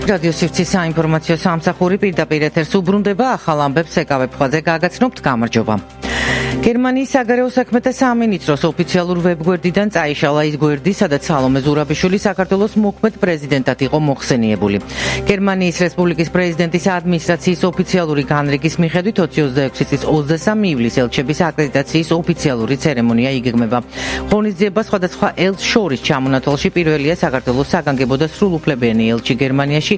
რადიო სივრცის საინფორმაციო სამსახური პირდაპირ ეთერს უბრუნდება, ახალ ამბებს ეკავებ ხვალზე გაგაცნობთ, გამარჯობა. გერმანიის საგარეო საქმეთა სამინისტროს ოფიციალურ ვებგვერდიდან წაიშალა ის გვერდი, სადაც სალომე ზურაბიშვილი საქართველოს მოქმედ პრეზიდენტად იყო მოხსენიებული. გერმანიის რესპუბლიკის პრეზიდენტის ადმინისტრაციის ოფიციალური განრიგის მიხედვით 2026 წლის 23 ივლისს ელჩების აკრედიტაციის ოფიციალური ცერემონია იგეგმება. ღონისძიება სხვადასხვა ელჩს შორის ჩამონათვალში პირველია საქართველოს საგანგებო და სრულუფლებიანი ელჩი გერმანიაში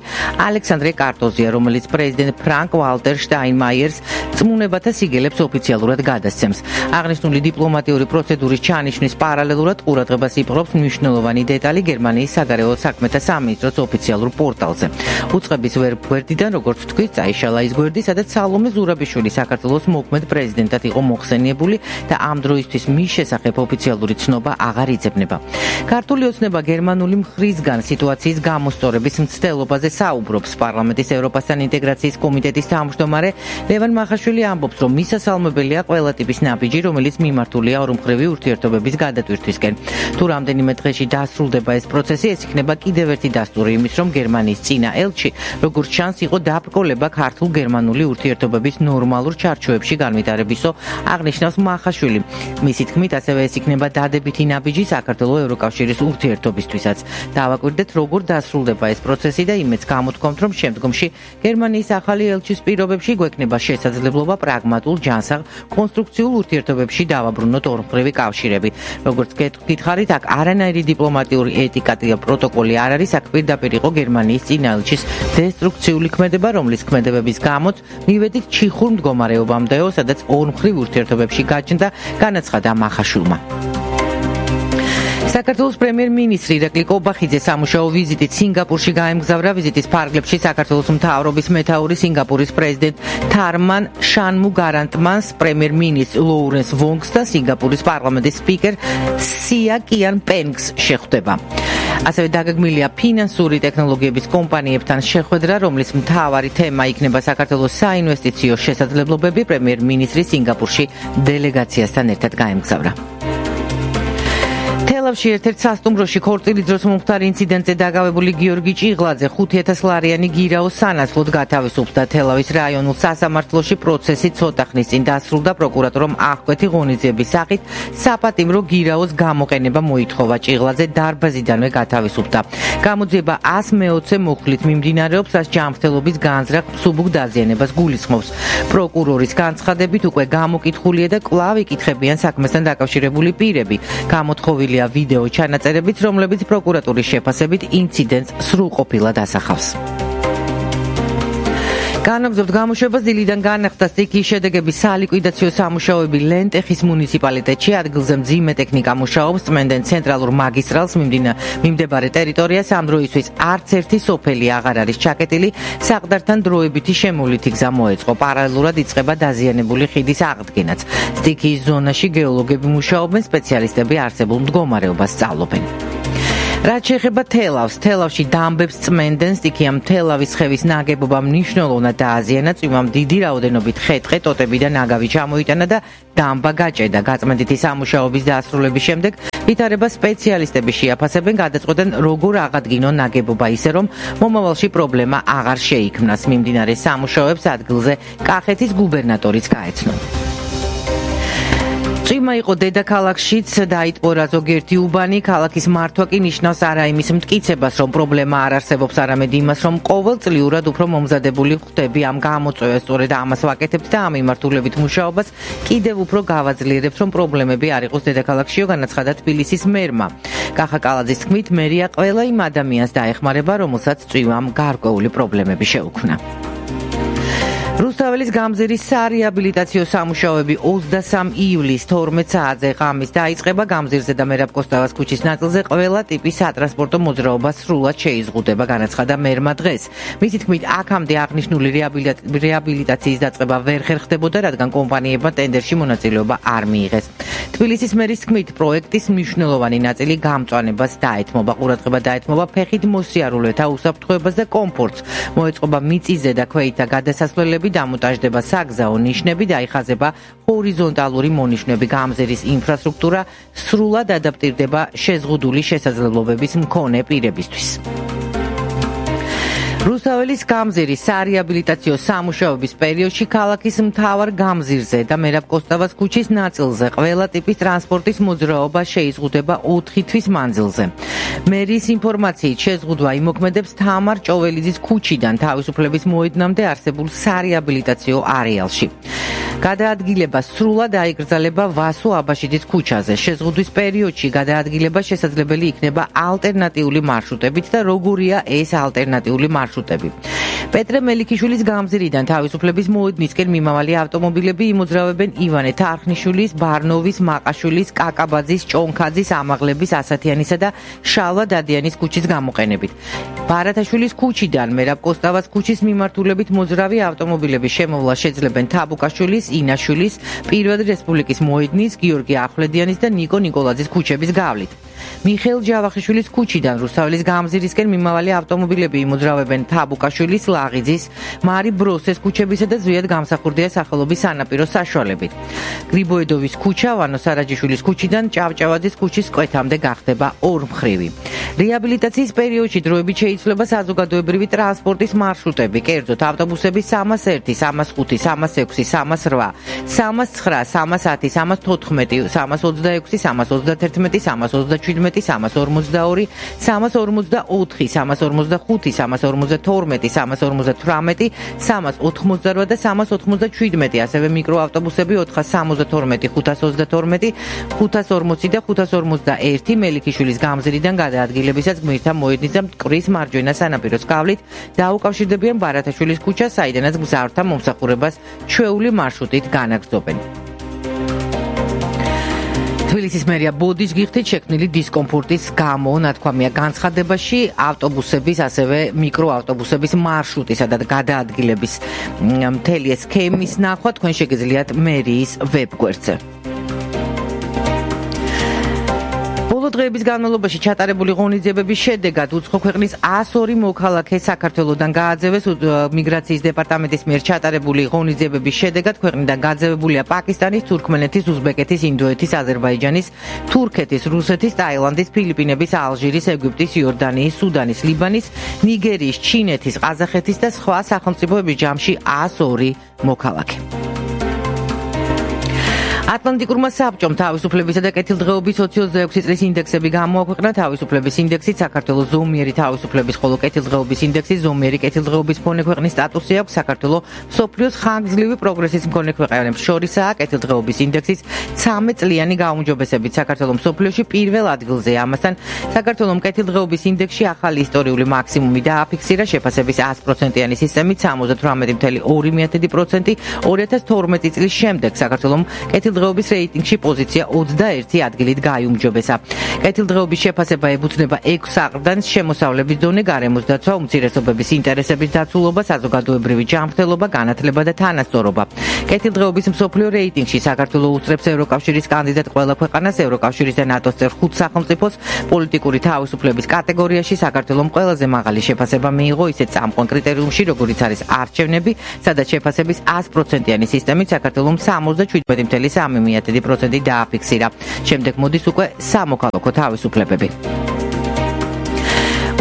ალექსანდრე კარტოზია, რომელიც პრეზიდენტ ფრანკ ვალტერ შტაინმაიერს წმუნებათა სიგელებს ოფიციალურად გადასცემს. აღნიშნული დიპლომატიური პროცედურის ჩანიშვნის პარალელურად ყურადღებას იპყრობს მნიშვნელოვანი დეტალი გერმანიის საგარეო საქმეთა სამინისტროს ოფიციალურ პორტალზე. უწყების ვებგვერდიდან, როგორც თქვით, წაიშალა ის გვერდი, სადაც სალომე ზურაბიშვილი საქართველოს მოქმედ პრეზიდენტად იყო მოხსენიებული და ამ დროისთვის მის შესახებ ოფიციალური ცნობა აღარ იძებნება. ქართული ოცნება გერმანული მხრისგან სიტუაციის გამოსწორების მცდელობაზე საუბრობს. პარლამენტის ევროპასთან ინტეგრაციის კომიტეტის თავმჯდომარე ლევან მახაშვილი ამბობს, რომ მისასალმებელია ყველა ტიპის ნაბიჯი, რომელიც მიმართულია ორმხრივი ურთიერთობების გადატვირთვისკენ. თუ რამდენიმე დღეში დასრულდება ეს პროცესი, ეს იქნება კიდევ ერთი დასტური იმის, რომ გერმანიის წინა ელჩი, როგორც ჩანს, იყო დაბრკოლება ქართულ-გერმანული ურთიერთობების ნორმალურ ჩარჩოებში განვითარებისო, აღნიშნავს მახაშვილი. მისი თქმით, ასევე ეს იქნება დადებითი ნაბიჯი საქართველოს ევროკავშირის ურთიერთობისთვისაც. დავაკვირდეთ, როგორ დასრულდება ეს პროცესი და იმედს გამოთქვამთ, რომ შემდგომში გერმანიის ახალი ელჩის პირობებში გვექნება შესაძლებლობა პრაგმატულ ჯანსაღ კონსტრუქციულ ურთიერთობებში დავაბრუნოთ ორმხრივი კავშირები. როგორც გითხარით, აქ არანაირი დიპლომატიური ეტიკა და პროტოკოლი არ არის, აქ პირდაპირ იყო გერმანიის წინა ელჩის დესტრუქციული ქმედება, რომლის ქმედებების გამოც მივედით ჩიხურ მდგომარეობამდეო, სადაც ორმხრივ ურთიერთობებში გაჩნდა, განაცხადა მახაშვილმა. საქართველოს პრემიერ-მინისტრი ირაკლი კობახიძე სამუშაო ვიზიტით სინგაპურში გაემგზავრა. ვიზიტის ფარგლებში საქართველოს მთავრობის მეთაური სინგაპურის პრეზიდენტ თარმან შანმუგარანტმანს, პრემიერ-მინისტრ ლოურენს ვონგს და სინგაპურის პარლამენტის სპიკერ სია კიან პენგს შეხვდება. ასევე დაგეგმილია ფინანსური ტექნოლოგიების კომპანიებთან შეხვედრა, რომლის მთავარი თემა იქნება საქართველოს საინვესტიციო შესაძლებლობები. პრემიერ-მინისტრი სინგაპურში დელეგაციასთან ერთად გაემგზავრა. თელავში ერთ-ერთ სასტუმროში ქორწილის დროს მომხდარ ინციდენტზე დაგავებული გიორგი ჭიღლაძე 5,000 ლარიანი გირაოს სანაცვლოდ გათავისუფლდა. და თელავის რაიონულ სასამართლოში პროცესი ცოტა ხნის წინ დასრულდა. პროკურატორამ აღკვეთი ღონისძიების სახით საპატიმრო გირაოს გამოყენება მოითხოვა. ჭიღლაძე დარბაზიდანვე გათავისუფლდა. გამოძიება 120 მოხლით მიმდინარეობს, რაც ჯანმრთელობის განზრახ მსუბუქ დაზიანებას გულისხმობს. პროკურორის განცხადებით უკვე გამოკითხულია და კვლავ იკითხებიან საქმესთან დაკავშირებული პირები. გამოთხოვილია ვიდეო ჩანაწერებიც, რომლებიც პროკურატურის შეფასებით ინციდენტს სრულყოფილად ასახავს. განაგრძობთ გამოშვებას. დილიდან განახდა სტიქიის შედეგების სალიკვიდაციო სამუშაოები ლენტეხის მუნიციპალიტეტში. ადგილზე მძიმე ტექნიკა მუშაობს, წმენდენ ცენტრალურ მაგისტრალს მიმდებარე ტერიტორიას. ამ დროისთვის არც ერთი სოფელი აღარ არის ჩაკეტილი. საყდართან დროებითი შემოვლითი გზა მოეწყო. პარალელურად იწყება დაზიანებული ხიდის აღდგენაც. სტიქიის ზონაში გეოლოგები მუშაობენ, სპეციალისტები არსებულ მდგომარეობას სწავლობენ. რაც შეეხება თელავს, თელავში დამბებს წმენდენ. სტიქიამ თელავის ხევის ნაგებობა მნიშვნელოვნად დააზიანა. წვიმამ დიდი რაოდენობით ხე-ტყე, ტოტები და ნაგავი ჩამოიტანა და დამბა გაჭედა. გაწმენდითი სამუშაოების დასრულების შემდეგ ვითარება სპეციალისტები შეაფასებენ, გადაწყვეტენ როგორ აღადგინონ ნაგებობა ისე, რომ მომავალში პრობლემა აღარ შეიქმნას. მიმდინარე სამუშაოებს ადგილზე კახეთის გუბერნატორიც გაეცნო. წვიმა იყო დედაქალაქშიც, დაიტყორა ზოგიერთი უბანი. ქალაქის მართვა კი ნიშნავს არა იმის მტკიცებას, რომ პრობლემა არ არსებობს, არამედ იმას, რომ ყოველწლიურად უფრო მომზადებული ხვდები ამ გამოწვევას. სწორედ ამას ვაკეთებთ და ამ მიმართულებით მუშაობას კიდევ უფრო გავაძლიერებთ, რომ პრობლემები არ იყოს დედაქალაქშიო, განაცხადა თბილისის მერმა. კახა კალაძის თქმით, მერია ყველა იმ ადამიანს დაეხმარება, რომელსაც წვიმამ გარკვეული პრობლემები შეუქმნა. რუსთაველის გამზირის სარეაბილიტაციო სამუშაოები 23 ივლისს 12 საათზე ღამის დაიწყება. გამზირზე და მერაბ კოსტავას ქუჩის ნაწილზე ყველა ტიპის სატრანსპორტო მოძრაობა სრულად შეიზღუდება, განაცხადა მერმა დღეს. მისი თქმით, აქამდე აღნიშნული რეაბილიტაციის დაწყება ვერ ხერხდებოდა, რადგან კომპანიებმა ტენდერში მონაწილეობა არ მიიღეს. თბილისის მერის თქმით, პროექტის მნიშვნელოვანი ნაწილი გამწვანებას დაეთმობა. ყურადღება დაეთმობა ფეხით მოსიარულეთა უსაფრთხოებას და კომფორტს. მოეწყობა მიწისზე და ქვეითა გადასასვლელები, დამონტაჟდება საგზაო ნიშნები, დაიხაზება ჰორიზონტალური მონიშნები. გამზირის ინფრასტრუქტურა სრულად ადაპტირდება შეზღუდული შესაძლებლობების მქონე პირებისთვის. რუსთაველის გამზირის სარეაბილიტაციო სამუშაოების პერიოდში ქალაქის მთავარ გამზირზე და მერაბ კოსტავას ქუჩის ნაწილზე ყველა ტიპის ტრანსპორტის მოძრაობა შეიზღუდება 4 თვის მანძილზე. მერის ინფორმაციით შეზღუდვა იმოქმედებს თამარ ჭოველიძის ქუჩიდან თავისუფლების მოედნამდე არსებულ სარეაბილიტაციო არეალში. გადაადგილება სრულად აიგრძელება ვასო აბაშიძის ქუჩაზე. შეზღუდვის პერიოდში გადაადგილება შესაძლებელი იქნება ალტერნატიული მარშრუტებით და როგორია ეს ალტერნატიული მარშრუტები. პეტრე მელიქიშვილის გამზირიდან თავისუფლების მოედნისკენ მიმავალი ავტომობილები იმოძრავებენ ივანე თარხნიშვილის, ბარნოვის, მაყაშვილის, კაკაბაძის, ჭონქაძის, ამაღლების, ასათიანისა და შალვა დადიანის ქუჩის გამოყენებით. ბარათაშვილის ქუჩიდან მერაბ კოსტავას ქუჩის მიმართულებით მოძრავი ავტომობილების შემოვლა შეძლებენ თაბუკაშვილის, ინაშვილის, პირველი რესპუბლიკის მოედნის, გიორგი ახვლედიანის და ნიკო ნიკოლაძის ქუჩების გავლით. მიხეილ ჯავახიშვილის ქუჩიდან რუსთაველის გამზირისკენ მიმავალი ავტომობილები იმოძრავებენ თაბუკაშვილის, ლაღიძის, მარი ბროსეს ქუჩებისა და ზვიად გამსახურდია სახელობის სანაპირო საშუალებით. გრიბოედოვის ქუჩა ვანო სარაჯიშვილის ქუჩიდან ჭავჭავაძის ქუჩის კვეთამდე გახდება ორმხრივი. რეაბილიტაციის პერიოდში დროებით შეიცვლება საზოგადოებრივი ტრანსპორტის მარშრუტები, კერძოდ ავტობუსები 301, 305, 306, 308, 309, 310, 314, 326, 331, 327, 342, 344, 345, 352, 348, 388 და 397, ასევე მიკროავტობუსები 472, 522, 540 და 551 მელიქიშვილის გამზირიდან გადაადგილებისას გმირთა მოედნის და მტკვრის მარჯვენა სანაპიროს გავლით დაუკავშირდებიან ბარათაშვილის ქუჩას, საიდანაც გზავრთა მომსახურებას ჩვეული მარშრუტით განაგრძობენ. თბილისის მერია ბოდიშ გიხდით შექმნილი დისკომფორტის გამო ნათქვამია განცხადებაში ავტობუსების, ასევე მიკროავტობუსების მარშრუტისა და გადაადგილების მთელი სქემის ნახვა თქვენ შეგიძლიათ მერიის ვებგვერდზე. დღეების განმავლობაში ჩატარებული ღონისძიებების შედეგად უცხო ქვეყნის 102 მოქალაქე საქართველოსდან გააძევეს. მიგრაციის დეპარტამენტის მიერ ჩატარებული ღონისძიებების შედეგად ქვეყნიდან გაძევებულია პაკისტანის, თურქმენეთის, უზბეკეთის, ინდოეთის, აზერბაიჯანის, თურქეთის, რუსეთის, ტაილანდის, ფილიპინების, ალჟირის, ეგვიპტის, იორდანიის, სუდანის, ლიბანის, ნიგერიის, ჩინეთის, ყაზახეთის და სხვა სახელმწიფოების ჯამში 102 მოქალაქე. ატლანტიკურმა საბჭომ თავისუფლებისა და კეთილდღეობის 26 წლის ინდექსები გამოაქვეყნა. თავისუფლების ინდექსით საქართველოს ზომიერი თავისუფლების, ხოლო კეთილდღეობის ინდექსით ზომიერი კეთილდღეობის მქონე ქვეყნის სტატუსი აქვს. საქართველოს მსოფლიოს ხანგრძლივი პროგრესის მქონე ქვეყნებს შორისაა. კეთილდღეობის ინდექსით 13 წლიანი გაუმჯობესებით საქართველოს მსოფლიოში პირველ ადგილზეა. ამასთან საქართველოს კეთილდღეობის ინდექსში ახალი ისტორიული მაქსიმუმი დააფიქსირა. შეფასების 100%-იანი სისტემით 78.2%. 2012 წლის შემდეგ საქართველოს კეთილდღეობის რეიტინგში პოზიცია 21 ადგილით გაიუმჯობესა. კეთილდღეობის შეფასება ებუთნება 6 აყრდანს: შემოსავლების დონე, გარემოს დაცვა, უმცირესობების ინტერესების დაცულობა, საზოგადოებრივი ჯანმრთელობა, განათლება და თანასწორობა. კეთილდღეობის მსოფლიო რეიტინგში საქართველოს უსწრებს ევროკავშირის კანდიდატ ყველა ქვეყანას, ევროკავშირის და ნატოს წევრ 5 სახელმწიფოს. პოლიტიკური თავისუფლების კატეგორიაში საქართველოს ყველაზე მაღალი შეფასება მიიღო ისეთ წამყვან კრიტერიუმში, როგორიც არის არჩევნები, სადაც შეფასების 100%-იანი სისტემით საქართველოს 77.3% დააფიქსირა. შემდეგ მოდის უკვე სამოქალაქო თავისუფლებები.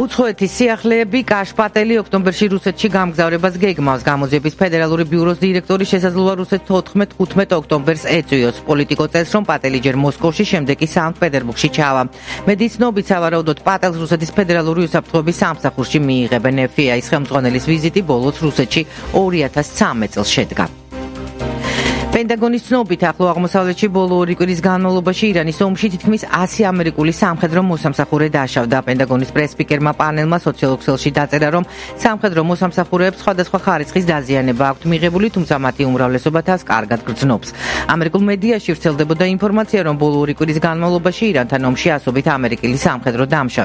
უცხოეთის სიახლეები კაშპატელი ოქტომბერში რუსეთში გამგზავრებას გეგმავს. გამოძიების ფედერალური ბიუროს დირექტორი შესაძლოა რუსეთს 14-15 ოქტომბერს ეწვიოს. პოლიტიკო წელს, რომ პატელი ჯერ მოსკოვში, შემდეგ კი სანქტ-პეტერბურგში ჩავა. მედის ცნობით, სავარაუდოდ პატელს რუსეთის ფედერალური უსაფრთხოების სამსახურში მიიღებენ. FBI-ის ხელმძღვანელის ვიზიტი ბოლოს რუსეთში 2013 წელს შედგა. პენტაგონის ცნობით, ახლო აღმოსავლეთში ბოლო 2 კვირის განმავლობაში ირანის ომში თითქმის 100 ამერიკული სამხედრო მოსამსახურე დაშავდა. პენტაგონის პრესსპიკერმა პანელმა სოციალურ ქსელში დაწერა, რომ სამხედრო მოსამსახურეებს სხვადასხვა ხარისხის დაზიანება აქვთ მიღებული, თუმცა მათი უმრავლესობა თავს კარგად გრძნობს. ამერიკულ მედიაში ვრცელდებოდა ინფორმაცია, რომ ბოლო 2 კვირის განმავლობაში ირანთან ომში ასობით ამერიკელი სამხედრო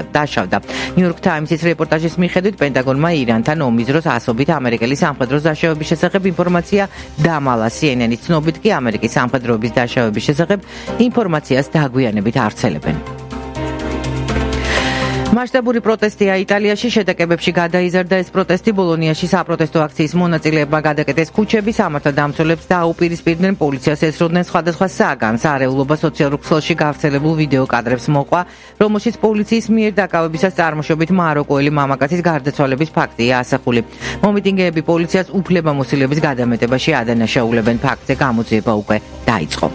დაშავდა. ნიუ-იორკ ტაიმსის რეპორტაჟის მიხედვით, პენტაგონმა ირანთან ომის დროს ასობით ამერიკელი სამხედრო დაშავების შესახებ ინფორმაცია დამალა. CNN-ის ცნობით კი ამერიკის სამხედროების დაშავების შესახებ ინფორმაციას დაგვიანებით არ ვრცელებენ. მასშტაბური პროტესტია იტალიაში, შეტაკებებში გადაიზარდა ეს პროტესტი. ბოლონიაში საპროტესტო აქციის მონაწილეებმა გადაკეტეს ქუჩები, სამართალდამცველებს დაუპირისპირდნენ, პოლიციას ესროდნენ სხვადასხვა საგანს. არეულობა სოციალურ ქსელში გავრცელებულ ვიდეო კადრებს მოყვა, რომელშიც პოლიციის მიერ დაკავებისას წარმოშობით მაროკოელი მამაკაცის გარდაცვალების ფაქტია ასახული. მომიტინგეები პოლიციას უფლებამოსილების გადამეტებაში ადანაშაულებენ. ფაქტზე გამოძიება უკვე დაიწყო.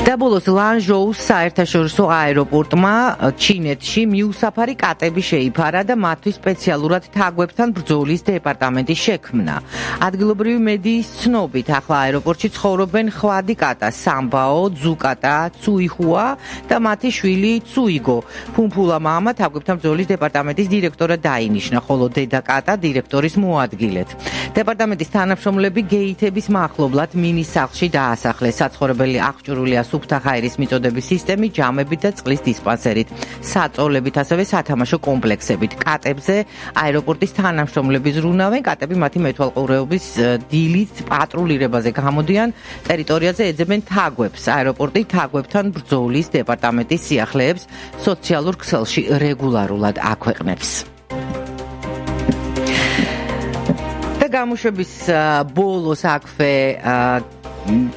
და ბოლოს ლანჟოუს საერთაშორისო აეროპორტმა ჩინეთში მიუსაფარი კატები შეიფარა და მათთვის სპეციალურად თაგვებთან ბრძოლის დეპარტამენტი შექმნა. ადგილობრივი მედიის ცნობით, ახლა აეროპორტში ცხოვრობენ ხვადი კატა, სამბაო, ძუკატა, ცუიხუა და მათი შვილი ცუიგო. ფუმფულა მამა თაგვებთან ბრძოლის დეპარტამენტის დირექტორად დაინიშნა, ხოლო დედა კატა დირექტორის მოადგილედ. დეპარტამენტის თანამშრომლები გეითების მახლობლად მინის სახლში დაასახლეს. საცხოვრებელი აღჭურვილია სუფთა ხაირის მიწოდების სისტემით, ჯამებით და წყლის დისპანსერით, საწოლებით, ასევე სათამაშო კომპლექსებით. კატებზე აეროპორტის თანამშრომლები ზრუნავენ, კატები მათი მეთვალყურეობის დილით პატრულირებაზე გამოდიან, ტერიტორიაზე ეძებენ თაგვებს. აეროპორტი თაგვებთან ბრძოლის დეპარტამენტის სიახლეებს სოციალურ ქსელში რეგულარულად აქვეყნებს. და გამოშვების ბოლოს აქვე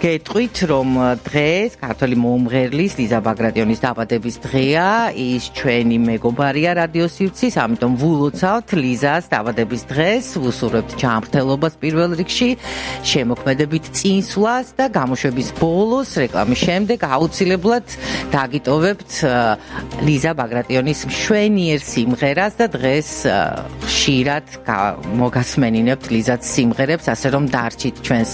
გეტყვით, რომ დღეს ქართული მომღერლის ლიზა ბაგრატიონის დაბადების დღეა. ის ჩვენი მეგობარია რადიო სივრცის, ამიტომ ვულოცავთ ლიზას დაბადების დღეს, ვუსურვებთ ჯანმრთელობას პირველ რიგში, შემოქმედებით წინსვლას და გამოშვების ბოლოს რეკლამის შემდეგ აუცილებლად დაგიტოვებთ ლიზა ბაგრატიონის მშვენიერ სიმღერას და დღეს ხშირად მოგასმენინებთ ლიზაც სიმღერებს, ასე რომ დარჩით ჩვენს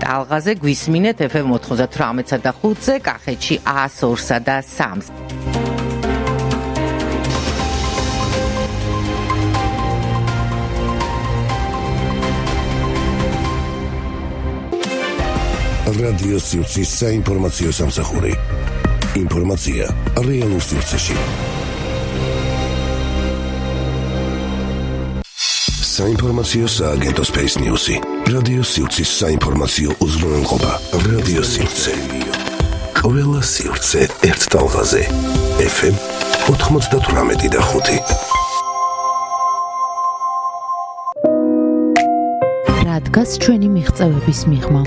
ტალღაზე. გვისმინეთ FM 98-სა და 5-ზე, კახეთში 102-სა და 3-ს. რადიო სივრცის საინფორმაციო სამსახური. ინფორმაცია რეალურ სივრცეში. საინფორმაციო სააგენტო Space News-ი. რადიო სივრცის საინფორმაციო უზრუნველყოფა. რადიო სივრცე. ყველა სივრცე ერთ ტალღაზე. FM 98 და 5. რა დგას ჩვენი მიღწევების მიღმა?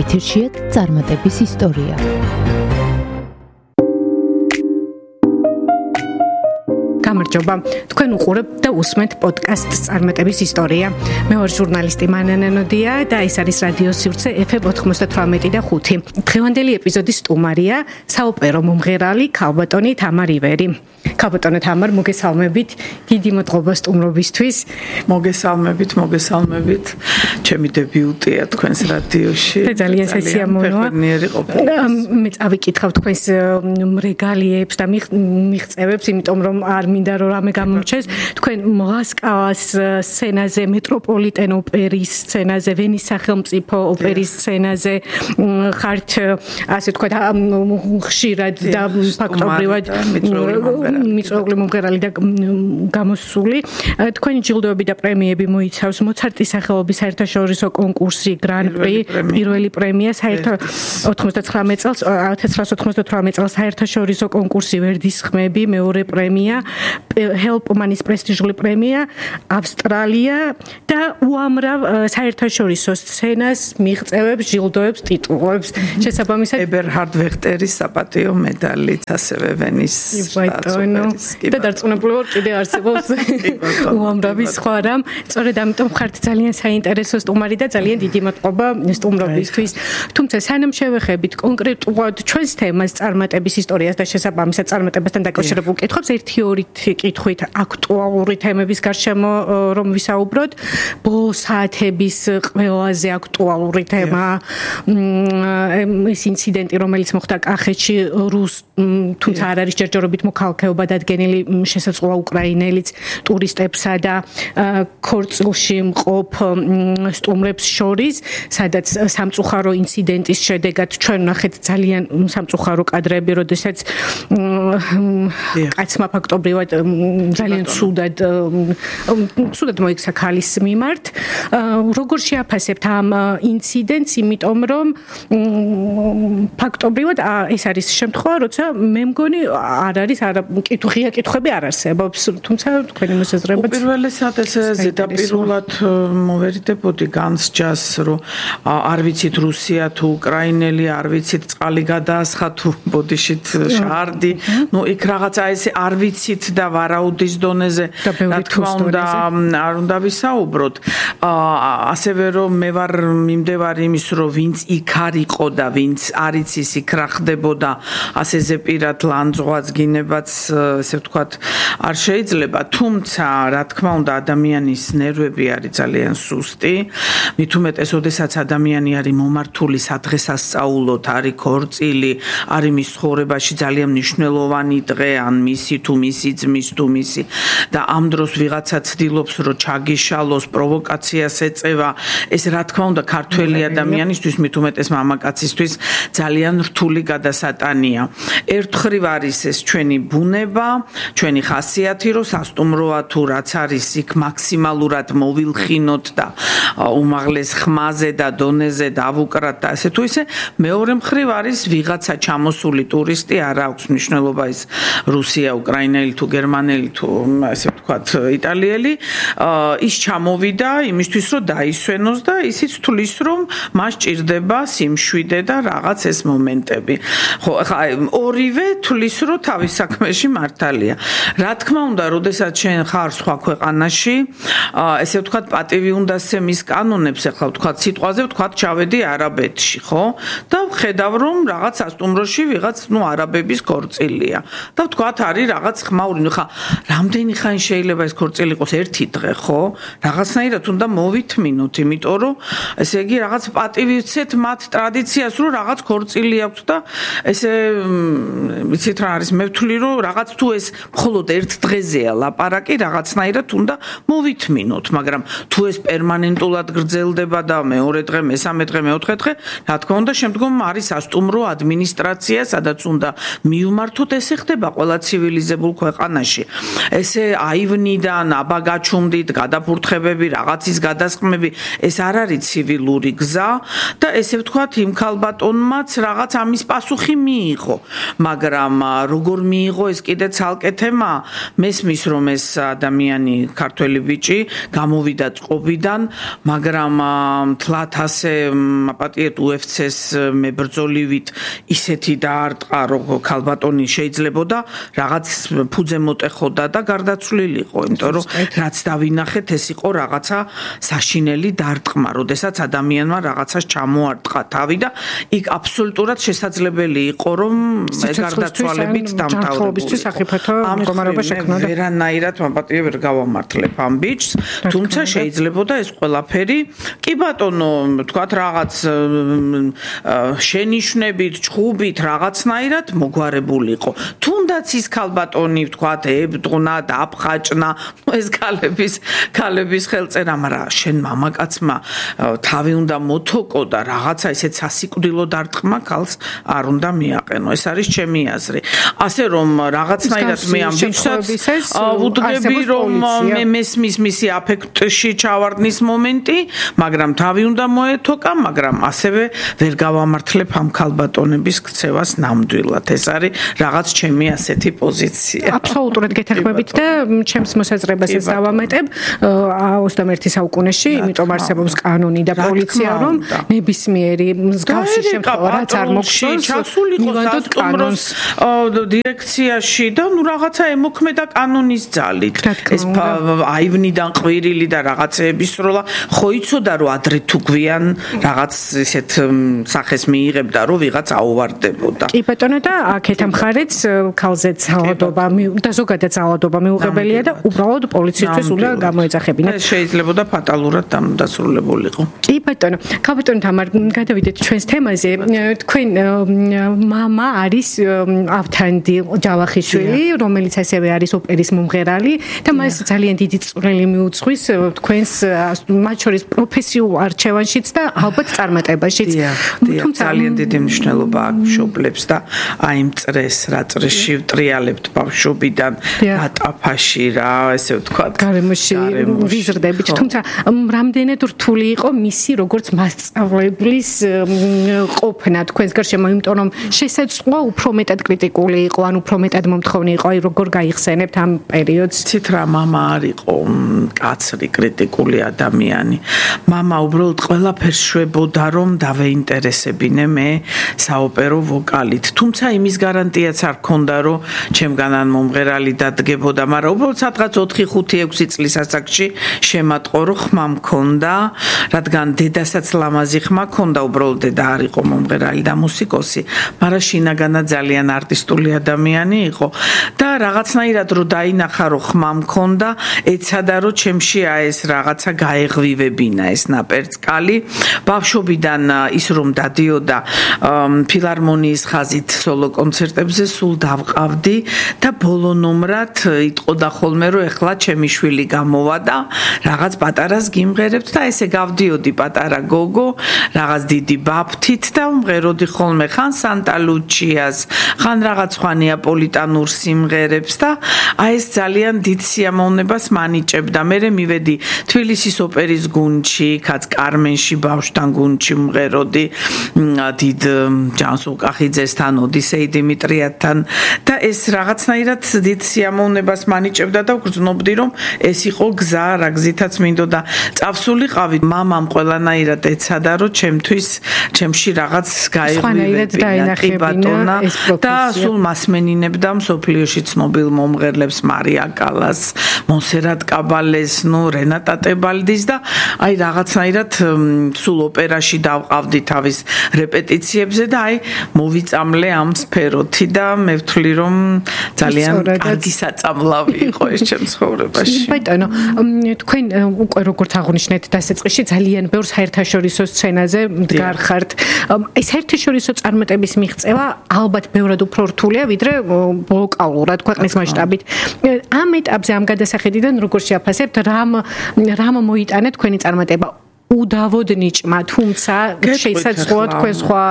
ეთერშია წარმატების ისტორია. გამარჯობა, თქვენ უყურებთ და უსმენთ პოდკასტს წარმატების ისტორია. მე ვარ ჟურნალისტი მანანა ნოდია და ეს არის რადიო სივრცე FM 98 და 5. დღევანდელი ეპიზოდის სტუმარია საოპერო მომღერალი ქალბატონი თამარ ივერი. ქალბატონო თამარ, მოგესალმებით, დიდი მადლობა სტუმრობისთვის. მოგესალმებით. ჩემი დებიუტია თქვენს რადიოში. ძალიან სასიამოვნოა. მე წავიკითხავ თქვენს რეგალიებს და მიღწევებს, იმიტომ რომ არ მინდა რომ რამე გამომრჩეს. თქვენ მოსკოვის სცენაზე, მეტროპოლიტენ ოპერის სცენაზე, ვენის სახელმწიფო ოპერის სცენაზე ხართ, ასე თქვა, ხშირად და ფაქტობრივად მიწვეული მომღერალი და გამოსული. თქვენი ჯილდოები და პრემიები მოიცავს მოცარტის სახელობის საერთაშორისო კონკურსი გრან-პრი, პირველი პრემია 1998 წელს საერთაშორისო კონკურსი ვერდის ხმები, მეორე პრემია ჰელპმანის პრესტიჟული პრემია ავსტრალია და უამრავ საერთაშორისო სცენას მიღწევებს, ჯილდოებს, ტიტულებს. შესაბამისად ებერჰარდ ვეხტერის საპატიო მედალით, ასევე ვენის და დარწმუნებული ვარ კიდე არსებობს უამრავი სხვა რამ. სწორედ ამიტომ ხართ ძალიან საინტერესო სტუმარი და ძალიან დიდი მადლობა სტუმრობისთვის. თუმცა სანამ შევეხებით კონკრეტულად ჩვენს თემას წარმატების ისტორიას და შესაბამისად წარმატებასთან დაკავშირებულ კითხვებს, ერთი-ორი კითხვით აქტუალური თემების გარშემო რომ ვისაუბროთ. ბოლო საათების ყველაზე აქტუალური თემა ეს ინციდენტი, რომელიც მოხდა კახეთში, თუმცა არ არის ჯერჯერობით მოქალაქეობა დადგენილი შესაძლოა უკრაინელიც ტურისტებსა და ქორწილში მყოფ სტუმრებს შორის, სადაც სამწუხარო ინციდენტის შედეგად ჩვენ ვნახეთ ძალიან სამწუხარო კადრები, როდესაც კაცმა ფაქტობრივად ძალიან ცუდად მოიქცა ქალის მიმართ. როგორ შეაფასებთ ამ ინციდენტს, იმიტომ რომ ფაქტობრივად ეს არის შემთხვევა, როცა მე მგონი არ არის ღია კითხვები არ არსებობს, თუმცა თქვენი მოსაზრება უპირველესად ესე ზედაპირულად მოვერიდებოდი განსჯას, რომ არ ვიცით რუსია თუ უკრაინელი, არ ვიცით წყალი გადაასხა თუ ბოდიშით შარდი, იქ რაღაცა ესე არ ვიცით და ვარაუდის დონეზე, რა თქმა უნდა, არ უნდა ვისაუბროთ. ასევე რომ მე ვარ მიმდევარი იმის, რომ ვინც იქ არ იყო და ვინც არ იცის იქ რა ხდებოდა, ასე ზეპირად ლანძღვაც გინებაც, ესე ვთქვათ, არ შეიძლება, თუმცა რა თქმა უნდა ადამიანის ნერვები არის ძალიან სუსტი, მით უმეტეს, ოდესაც ადამიანი არის მომართული სადღესასწაულოდ, არის ქორწილი, არის მის ცხოვრებაში ძალიან მნიშვნელოვანი დღე, ან მისი თუ მისი ძმის თუ მისი და ამ დროს ვიღაცა ცდილობს, რომ ჩაგიშალოს, პროვოკაციას ეწევა, ეს რა თქმა უნდა ქართველი ადამიანისთვის, მით უმეტეს მამაკაცისთვის ძალიან რთული გადასატანია. ერთხრივ არის ეს ჩვენი ბუნება, ჩვენი ხასიათი, რომ სასტუმროა თუ რაც არის იქ მაქსიმალურად მოვილხინოთ და უმაღლეს ხმაზე და დონეზე დავუკრათ და ასე თუ ისე. მეორე მხრივ არის ვიღაცა ჩამოსული ტურისტი, არ აქვს მნიშვნელობა ის რუსია, უკრაინელი თუ გერმანელი თუ ასე ვთქვათ იტალიელი, ის ჩამოვიდა იმისთვის, რომ დაისვენოს და ისიც თulis, რომ მას ჭირდება სიმშვიდე და რაღაც ეს მომენტები. ხო, ხა ორივე თulis, რომ თავის საქმეში მართალია. რა თქმა უნდა, როდესაც შენ ხარ სხვა ქვეყანაში, ესე ვთქვათ, პატივი უნდა სცემის კანონებს, ახლა ვთქვათ, სიტყვაზე ვთქვათ, ჩავედი არაბეთში, ხო? და ვხედავ, რომ რაღაც სასტუმროში ვიღაც, არაბების ქორწილია. და ვთქვათ, არის რაღაც ხმაური, ხა, რამდენი ხანი შეიძლება ეს ქორწილი იყოს? ერთი დღე, ხო? რაღაცნაირად უნდა მოვითმინოთ, იმიტომ რომ ესე იგი რაღაც პატივი ვცეთ მათ ტრადიციას, რომ რაღაც ქორწილი აქვს და ესე ვიცით რა არის, მე ვთვლი, რომ რაღაც თუ ეს მხოლოდ ერთ დღეზეა ლაპარაკი, რაღაცნაირად უნდა მოვითმინოთ, მაგრამ თუ ეს პერმანენტულად გრძელდება და მეორე დღე, მესამე დღე, მეოთხე დღე, რა თქმა უნდა, შემდგომ არის სასტუმრო ადმინისტრაცია, სადაც უნდა მივმართოთ, ესე ხდება ყველა ცივილიზებულ ქვეყანაში. ესე აივნიდან აბა გაჩუმდით, გადაფურთხებები, რაღაცის გადასხმები, ეს არ არის ცივილური გზა და ესე ვთქვათ, იმ ქალბატონმაც რაღაც ამის პასუხი მიიღო, მაგრამ როგორ მიიღო ეს კიდე ცალკე თემა, მესმის რომ ეს ადამიანი ქართველი ბიჭი გამოვიდა წყობიდან, მაგრამ თლათ ასე პატიეთ UFC-ს მებრძოლივით ისეთი დაარტყა, რომ ქალბატონი შეიძლებოდა რაღაც ფუძე მოტეხოდა და გარდაცვლილიყო, იმიტომ რომ რაც დავინახეთ, ეს იყო რაღაცა საშინელი დარტყმა, როდესაც ადამიანმა რაღაცას ჩამოარტყა თავი და იქ აბსოლუტურად შესაძლებელი იყო, რომ გარდაცვალებით დამთავრებულიყო. მდგომარეობა შექმნოდა. ვერანაირად მაპატიე ვერ გავამართლებ ამ ბიჭს, თუმცა შეიძლებოდა ეს ყველაფერი, კი ბატონო, თქვათ რაღაც შენიშვნებით, ჩხუბით, რაღაცნაირად მოგვარებულიყო. თუნდაც ის ქალბატონი, თქვათ, ებდღნა, დაფხაჭნა, ეს ქალების ხელწერა, მაგრამ შენ მამაკაცმა თავი უნდა მოთოკო და რაღაცა ისეთ სასიკვდილო დარტყმა ქალს არ უნდა მიაყენო. ეს არის ჩემი აზრი. ასე რომ რაღაცნაირად მე ამ ბიჭსაც ვუდგები, რომ მე მესმის მისი აფექტში ჩავარდნის მომენტი, მაგრამ თავი უნდა მოეთოკა, მაგრამ ასევე ვერ გავამართლებ ამ ქალბატონების ქცევას ნამდვილად. ეს არის რაღაც ჩემი ასეთი პოზიცია. აბსოლუტურად გეთანხმებით და ჩემს მოსაზრებასაც დავამატებ 21 საუკუნეში, იმიტომ არსებობს კანონი და პოლიცია, რომ ნებისმიერი მსგავსი შემთხვევა რაც არ მოგწონს, ჩასულიყო სასტუმროს დირექციაში და რაღაცა ემოქმედა კანონის ძალით. ეს აივნიდან ყვირილი და რაღაცეების სროლა ხო იცოდა, რომ ადრე თუ გვიან რაღაც ისეთ სახეს მიიღებდა, რომ ვიღაც აუვარდებოდა. კი ბატონო და აქეთ მხარეც ქალზე ძალადობა და ზოგადად ძალადობა მიუღებელია და უბრალოდ პოლიციისთვის უნდა გამოეძახებინათ. ეს შეიძლებოდა ფატალურად დასრულებულიყო. კი ბატონო, ქალბატონო თამარ, გადავიდეთ ჩვენს თემაზე. თქვენ მამა არის ავთანდი ჯავახიშვილი, რომელიც ასევე არის ოპერის მომღერალი და მას ძალიან დიდი წვლილი მიუძღვის თქვენს მათ შორის პროფესიულ არჩევანშიც და ალბათ წარმატებაშიც. თუმცა ძალიან დიდი მნიშვნელობა აქვს მშობლებს და აი მწრეს, რა წრეში ვტრიალებთ ბავშვობიდან ატაფაში რა, ესე ვთქვათ, გარემოში ვიზრდებით. თუმცა რამდენად რთული იყო მისი როგორც მასწავლებლის ყოფნა თქვენს გარშემო, იმიტომ რომ შესაძლოა უფრო მეტად კრიტიკული იყო, ან უფრო მეტად მომთხოვნი იყო, აი როგორ გაიხსენებთ ამ პერიოდს? ცით რა მამა არ იყო კაცრი კრიტიკული ადამიანი. მამა უბრალოდ ყველაფერს შვებოდა რომ დავეინტერესებინე მე საოპერო ვოკალით. თუმცა იმის გარანტიაც არ ქონდა რომ ჩემგანან მომღერალი დადგებოდა, მაგრამ უბრალოდ სადღაც 4-5-6 წლის ასაკში შემატყო რომ ხმა მქონდა, რადგან დედასაც ლამაზი ხმა ქონდა, უბრალოდ დედა არ იყო მომღერალი და მუსიკოსი, მაგრამ შინაგანად ძალიან არტისტული ადამიანი იყო და რაღაცნაირად რომ დაინახა რომ ხმა მქონდა, ეცადა რომ ჩემში ეს რაღაცა გაეღვივებინა ეს ნაპერწკალი. ბავშვობიდან ის რომ დადიოდა ფილარმონიის ხაზით სოლო კონცერტებზე სულ დავყავდი და ბოლო ნომრად იტყოდა ხოლმე რომ ეხლა ჩემი შვილი გამოვა და რაღაც პატარას გიმღერებთ და ესე გავდიოდი პატარა გოგო რაღაც დიდი ბაფთით და უმღეროდი ხოლმე ხან სანტა ლუჩიას, ხან რაღაც სხვა ნეაპოლიტანურ სიმღერებს და აი ეს ძალიან დიდ სიამოვნებას მანიჭებდა. მე მივედი თბილისის ოპერის გუნდში, კაც კარმენში ბავშვთან გუნდში მღეროდი დიდ ჯანს უკახიძესთან, ოდისეი დიმიტრიათთან და ეს რაღაცნაირად დიდ სიამოვნებას მანიჭებდა და ვგრძნობდი რომ ეს იყო გზა, რა გზითაც მინდოდა წავსულიყავი. მამამ ყველანაირად ეცადა რომ ჩემში რაღაც გაეღვივებინა და სულ მასმენინებდა მსოფლიოში ცნობილ მომღერლებს, მარია კალას, მონსერატ კაბალეს, რენატა ტებალდის და აი რაღაცნაირად სულ ოპერაში დავყავდი თავის რეპეტიციებზე და აი მოვიწამლე ამ სფეროთი და მე ვთვლი რომ ძალიან კარგი საწამლავი იყო ეს ჩემ ცხოვრებაში. ბატონო, თქვენ უკვე როგორც აღნიშნეთ დასაწყისში ძალიან ბევრ საერთაშორისო სცენაზე მდგარ ხართ. ეს საერთაშორისო წარმატების მიღწევა ალბათ ბევრად უფრო რთულია ვიდრე ლოკალურად ქვეყნის მასშტაბით. ამ ეტაპზე ამ გადასახედიდან როგორ შეაფასებთ, რამ მოიტანა თქვენი წარმატება? უდავოდ ნიჭმა, თუმცა შესაძლოა თქვენ სხვა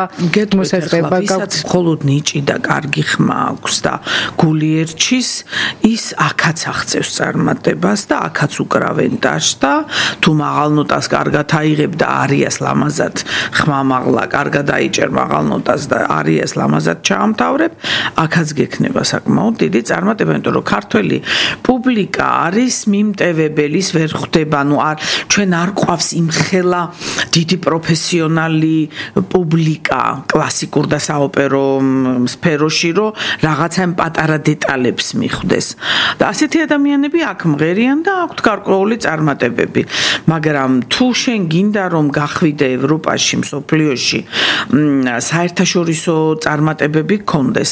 მოსაზრება გაქვთ. მხოლოდ ნიჭი და კარგი ხმა აქვს და გული ერჩის, ის აქაც აღწევს წარმატებას და აქაც უკრავენ დაშს და თუ მაღალ ნოტას კარგად აიღებ და არიას ლამაზად ხმა მაღლა კარგად აიჭერ მაღალ ნოტას და არიას ლამაზად ჩაამთავრებ, აქაც გექნება საკმაოდ დიდი წარმატება, იმიტომ რომ ქართველი პუბლიკა არის მიმტევებელის ვერ ხვდება, ჩვენ არ ყვავს იმ ხელა დიდი პროფესიონალი პუბლიკა კლასიკურ და საოპერო სფეროში რომ რაღაცა პატარა დეტალებს მიხვდეს და ასეთი ადამიანები აქ მღერიან და აქვთ გარკვეული წარმატებები, მაგრამ თუ შენ გინდა რომ გახვიდე ევროპაში, მსოფლიოში საერთაშორისო წარმატებები გქონდეს,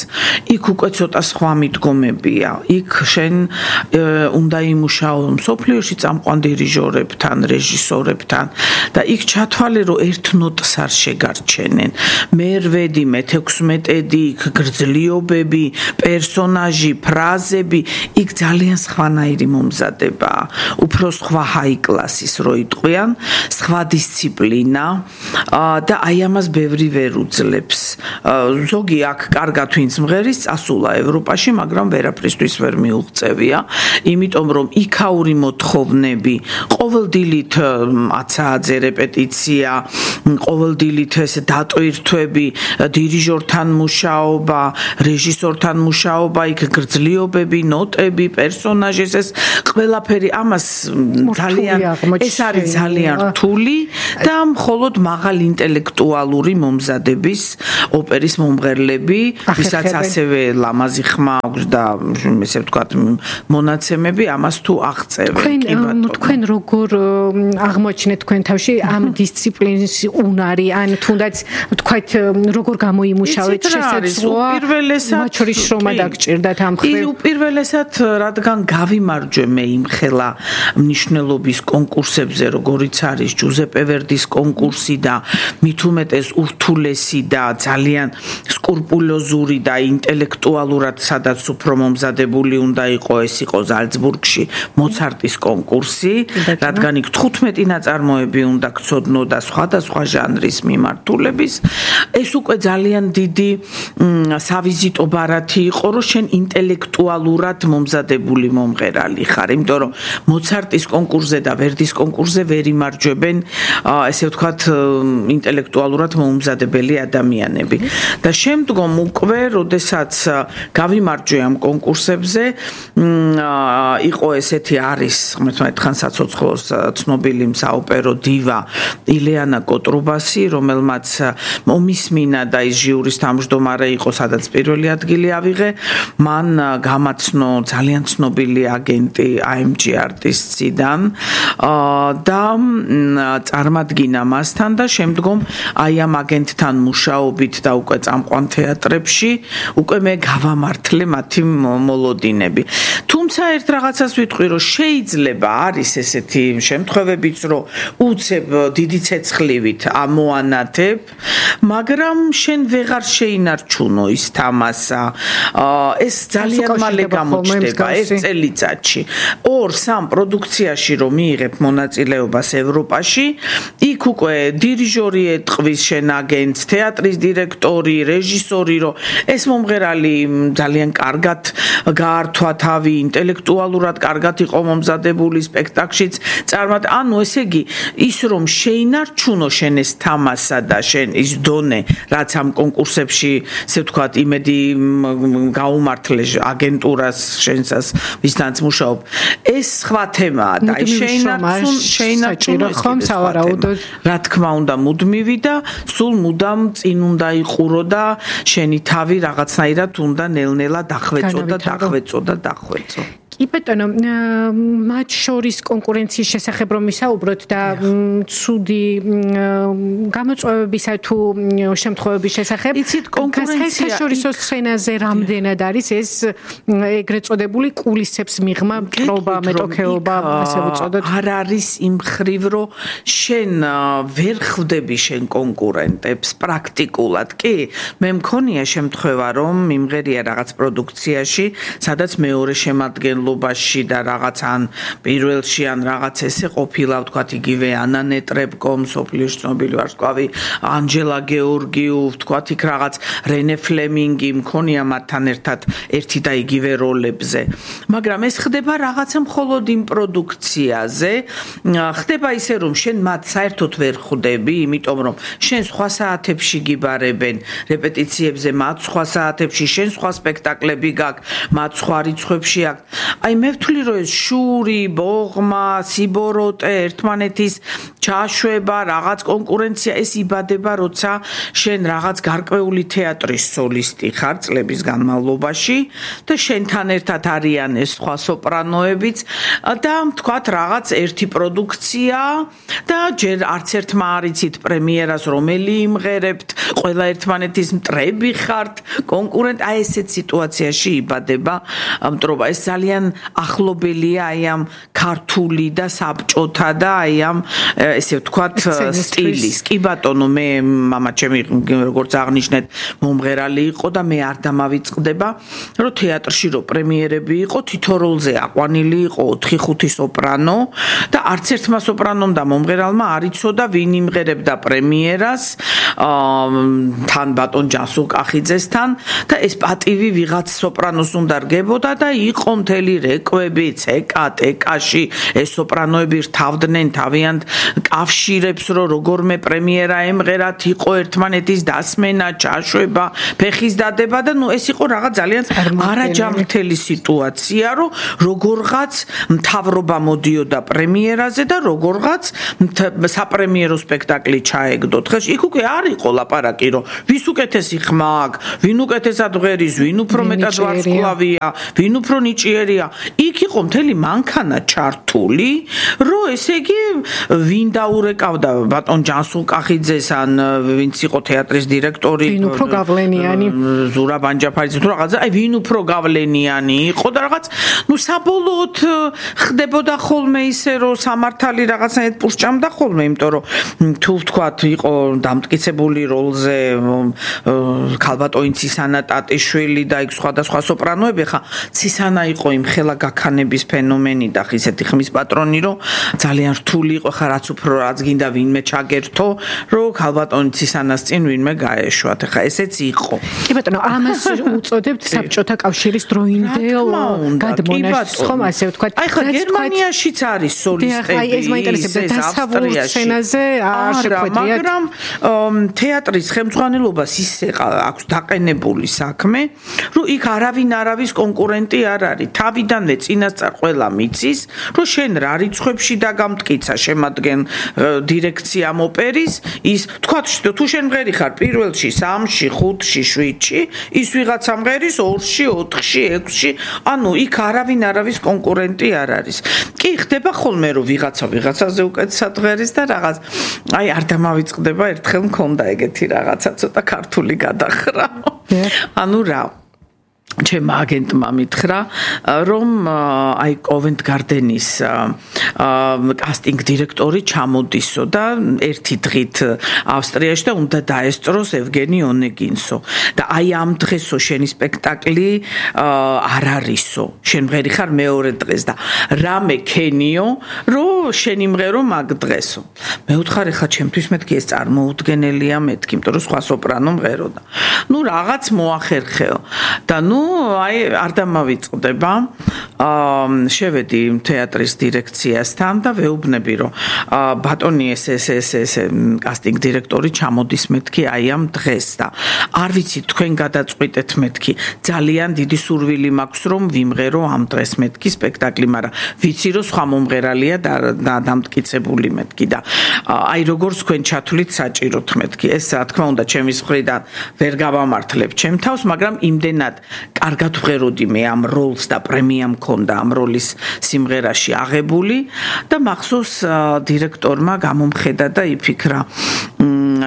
იქ უკვე ცოტა სხვა მიდგომებია, იქ შენ უნდა იმუშაო მსოფლიოში წამყვან დირიჟორებთან, რეჟისორებთან და იქ ჩათვალე რომ ერთ ნოტს არ შეგარჩენენ. მე-8, მე-16, იქ გრძლიობები, პერსონაჟი, ფრაზები, იქ ძალიან სხვანაირი მომზადებაა. უფრო სხვა ჰაი კლასის რო იტყვიან, სხვა დისციპლინა და აი ამას ბევრი ვერ უძლებს. ზოგი აქ კარგად ვინც მღერის წასულა ევროპაში, მაგრამ ვერაფრისთვის ვერ მიუღწევია, იმიტომ რომ იქაური მოთხოვნები, ყოველდილით 10 საათზე რეპეტიცია, ყოველდილით ეს დატვირთვები, დირიჟორთან მუშაობა, რეჟისორთან მუშაობა, იქ გრძლიობები, ნოტები, პერსონაჟი, ეს ყველაფერი ამას ძალიან ეს არის ძალიან რთული და მხოლოდ მაღალ ინტელექტუალური მომზადების ოპერის მომღერლები, ვისაც ასევე ლამაზი ხმა აქვს და ესე ვთქვათ მონაცემები, ამას თუ აღწევენ. თქვენ როგორ აღმოჩნეთ თქვენ თავში ამ დისციპლინის უნარი, ან თუნდაც ვთქვათ როგორ გამოიმუშავეთ შესაძლოა მათ შორის შრომა დაგჭირდათ ამ ხრივ? უპირველესად რადგან გავიმარჯვე მე იმ ხელა მნიშვნელობის კონკურსებზე, როგორიც არის ჯუზეპე ვერდის კონკურსი და მით უმეტეს ურთულესი და ძალიან სკრუპულოზური და ინტელექტუალურად სადაც უფრო მომზადებული უნდა იყოს, ეს იყო ზალცბურგში მოცარტის კონკურსი, რადგან იქ 15 ნაწარმოები სოპრანოები უნდა გწოდნო და სხვადასხვა ჟანრის მიმართულების. ეს უკვე ძალიან დიდი სავიზიტო ბარათი იყო, რომ შენ ინტელექტუალურად მომზადებული მომღერალი ხარ, იმიტომ რომ მოცარტის კონკურსზე და ვერდის კონკურსზე ვერ იმარჯვებენ, ესე ვთქვათ, ინტელექტუალურად მომზადებელი ადამიანები. და შემდგომ უკვე, როდესაც გავიმარჯვე ამ კონკურსებზე, იყო ესეთი არის, ხმერთმეტ ხან საცოცხლოს ცნობილი საოპერო დივა ილეანა კოტრუბასი, რომელმაც მომისმინა და ის ჟიურის თავმჯდომარე იყო, სადაც პირველი ადგილი ავიღე. მან გამაცნო ძალიან ცნობილი აგენტი AMG Artists-იდან და წარმადგინა მასთან და შემდგომ აი ამ აგენტთან მუშაობით და უკვე წამყვან თეატრებში უკვე მე გავამართლე მათი მოლოდინები. თუმცა ერთ რაღაცას ვიტყვი, რომ შეიძლება არის ესეთი შემთხვევებიც, რომ უცებ დიდი ცეცხლივით ამოანათებ, მაგრამ შენ ვეღარ შეინარჩუნო ის თამასა. ეს ძალიან მალე გამოჩნდება ერთ წელიწადში. 2-3 პროდუქციაში რომ მიიღებ მონაწილეობას ევროპაში, იქ უკვე დირიჟორი ეტყვის შენ აგენტს, თეატრის დირექტორი, რეჟისორი, რომ ეს მომღერალი ძალიან კარგად გაართვა თავი, ინტელექტუალურად კარგად იყო მომზადებული სპექტაკლშიც. ანუ ესე იგი, ის რომ შეინარჩუნო შენ ეს თამასა და შენ ის დონე, რაც ამ კონკურსებში, ესე ვთქვათ, იმედი გაუმართლე აგენტურას შენსას, ვისთანაც მუშაობ. ეს სხვა თემაა და შეინარჩუნო ხომ სავარაუდოდ. რა თქმა უნდა, მუდმივი და სულ მუდამ წინ უნდა იყურო და შენი თავი რაღაცნაირად უნდა ნელ-ნელა დახვეწო. კი ბატონო, მათ შორის კონკურენციის შესახებ რომ ვისაუბროთ და ცუდი გამოწვევებისა თუ შემთხვევების შესახებ, საერთაშორისო სცენაზე რამდენად არის ეს ეგრეთ წოდებული კულისებს მიღმა, მტრობა, მეტოქეობა, ასე ვუწოდოთ? არ არის იმ ხრივ, რომ შენ ვერ ხვდები შენ კონკურენტებს პრაქტიკულად. კი, მე მქონია შემთხვევა, რომ მიმღერია რაღაც პროდუქციაში, სადაც მეორე შემადგენლობაში და რაღაც ან პირველში ან რაღაც ესე ყოფილა, ვთქვათ, იგივე ანა ნეტრებკო, მსოფლიოში ცნობილი ვარსკვლავი, ანჯელა გეორგიუ, ვთქვათ, იქ რაღაც რენე ფლემინგი მქონია მათთან ერთად ერთი და იგივე როლებზე. მაგრამ ეს ხდება რაღაცა მხოლოდ იმ პროდუქციაზე, ხდება ისე, რომ შენ მათ საერთოდ ვერ ხვდები, იმიტომ რომ შენ სხვა საათებში გიბარებენ რეპეტიციებზე, მათ სხვა საათებში, შენ სხვა სპექტაკლები გაქვს, მათ სხვა რიცხვებში აქვს. აი მე ვთვლი, რომ ეს შური, ბოღმა, სიბოროტე, ერთმანეთის ჩაშვება, რაღაც კონკურენცია ეს იბადება, როცა შენ რაღაც გარკვეული თეატრის სოლისტი ხარ წლების განმავლობაში და შენთან ერთად არიან ეს სხვა სოპრანოებიც და თქვათ რაღაც ერთი პროდუქცია და ჯერ არც ერთმა არ იცით პრემიერას რომელი იმღერებთ, ყველა ერთმანეთის მტრები ხართ, კონკურენტ, აი ესეთ სიტუაციაში იბადება მტრობა. ეს ძალიან ახლობელია აი ამ ქართული და საბჭოთა და აი ამ ესე ვთქვათ სტილის. კი ბატონო, მე მამა ჩემი როგორც აღნიშნეთ მომღერალი იყო და მე არ დამავიწყდება, რომ თეატრში რო პრემიერები იყო, თითო როლზე აყვანილი იყო 4-5 სოპრანო და არც ერთმა სოპრანომ და მომღერალმა არ იცოდა ვინ იმღერებდა პრემიერას თან ბატონ ჯანსუღ კახიძესთან და ეს პატივი ვიღაც სოპრანოს უნდა რგებოდა და იყო მთელი რეკვები CK-ში ეს სოპრანოები რთავდნენ თავიანთ კავშირებს, რომ როგორმე პრემიერა ემღერათ, იყო ერთმანეთის დასმენა, ჩაშვება, ფეხის დადება და ეს იყო რაღაც ძალიან არაჯანმრთელი სიტუაცია, რომ როგორღაც მთავრობა მოდიოდა პრემიერაზე და როგორღაც საპრემიერო სპექტაკლი ჩაეგდოთ. ხეში იქ უკვე არ იყო ლაპარაკი, რომ ვის უკეთესი ხმა აქვს, ვინ უკეთესად ღერის, ვინ უფრო მეტად ვარსკვლავია, ვინ უფრო ნიჭიერია. იქ იყო მთელი მანქანა ჩართული, რომ ესე იგი ვინ დაურეკავდა ბატონ ჯანსუღ კახიძეს ან ვინც იყო თეატრის დირექტორი, ვინ უფრო გავლენიანი, ზურა ბანჯაფარიძე თუ რაღაცა, აი ვინ უფრო გავლენიანი იყო და რაღაც, საბოლოოდ ხდებოდა ხოლმე ისე, რომ სამართალი რაღაცნაირად პურსჭამდა ხოლმე, იმიტომ რომ თუ ვთქვათ, იყო დამტკიცებული როლზე ქალბატონი ცისანა ტატიშვილი და იქ სხვადასხვა სოპრანოები, ხა ცისანა იყო იმ ხელა გაქანების ფენომენი და ისეთი ხმის პატრონი, რომ ძალიან რთული იყო, ხა რაც უფრო რაც გინდა ვინმე ჩაგერთო, რომ ქალბატონი ცისანას წინ ვინმე გაეშვათ. ხა ესეც იყო. კი ბატონო, ამას უწოდებთ საბჭოთა კავშირის დროინდელ გადმონაშთს, ხომ ასე ვთქვათ. აი ხა გერმანიაშიც არის სოლისტები. აი ეს მაინტერესებდა დასავლურ სცენაზე არ შეხვედრიათ. მაგრამ თეატრის ხელმძღვანელობას ისე აქვს დაყენებული საქმე, რომ იქ არავის კონკურენტი არ არის. თავიდანვე წინასწარ ყველა მიცის, რომ შენ რა რიცხვებში დაგამტკიცა შემადგენ დირექციამ ოპერის, ის თქვა თუ შენ მღერი ხარ პირველში, 3-ში, 5-ში, 7-ში, ის ვიღაცა მღერის 2-ში, 4-ში, 6-ში, ანუ იქ არავის კონკურენტი არ არის. კი ხდება ხოლმე რომ ვიღაცაზე უკეთესად ღერის და რაღაც აი არ დამავიწყდება ერთხელ მქონდა ეგეთი რაღაცა ცოტა ქართული გადახრა. ანუ რა ჩემ აგენტმა მითხრა რომ აი კოვენტ გარდენის კასტინგ დირექტორი ჩამოდისო და ერთი დღით ავსტრიაში და უნდა დაესწროს ევგენი ონეგინსო და აი ამ დღესო შენი სპექტაკლი არ არისო შენ მღერი ხარ მეორე დღეს და რამე ქენიო რომ შენი მღერო მაგ დღესო მე ვთხარი ხა ჩემთვის მეთქი ეს წარმოუდგენელია მეთქი იმიტომ რომ სხვა სოპრანო მღერო და ნუ რაღაც მოახერხეო და ნუ აი არ დამავიწყდება შევედი თეატრის დირექციასთან და ვეუბნები რომ ბატონი ეს კასტინგ დირექტორი ჩამოდის მეთქი აი ამ დღეს და არ ვიცი თქვენ გადაწყვიტეთ მეთქი ძალიან დიდი სურვილი მაქვს რომ ვიმღერო ამ დღეს მეთქი სპექტაკლი მაგრამ ვიცი რომ სხვა მომღერალია და დამტკიცებული მეთქი და აი როგორც თქვენ ჩათვლით საჭიროთ მეთქი ეს რა თქმა უნდა ჩემის მხრიდან ვერ გავამართლებ ჩემ თავს მაგრამ იმდენად კარგად ვღეროდი მე ამ როლს და პრემია მქონდა ამ როლის სიმღერაში აღებული და მახსოვს დირექტორმა გამომხედა და იფიქრა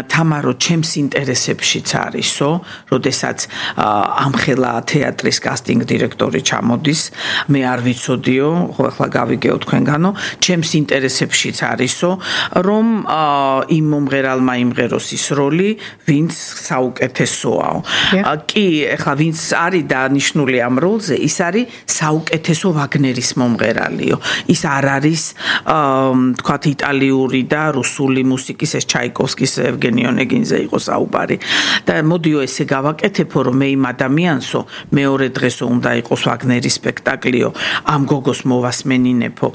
თამარო ჩემს ინტერესებშიც არისო, როდესაც ამხელა თეატრის კასტინგ დირექტორი ჩამოდის, მე არ ვიცოდიო, ხო ახლა გავიგეო თქვენგანო, ჩემს ინტერესებშიც არისო, რომ იმ მომღერალმა იმღეროს ის როლი, ვინც საუკეთესოაო. კი, ახლა ვინც არის დანიშნული ამ როლზე, ის არის საუკეთესო ვაგნერის მომღერალიო. ის არ არის თქვათ იტალიური და რუსული მუსიკის ეს ჩაიკოვსკის ევგენი ონეგინზე იყო საუბარი და მოდიო ესე გავაკეთებო რომ მე იმ ადამიანსო მეორე დღესო უნდა იყოს ვაგნერის სპექტაკლიო ამ გოგოს მოვასმენინებო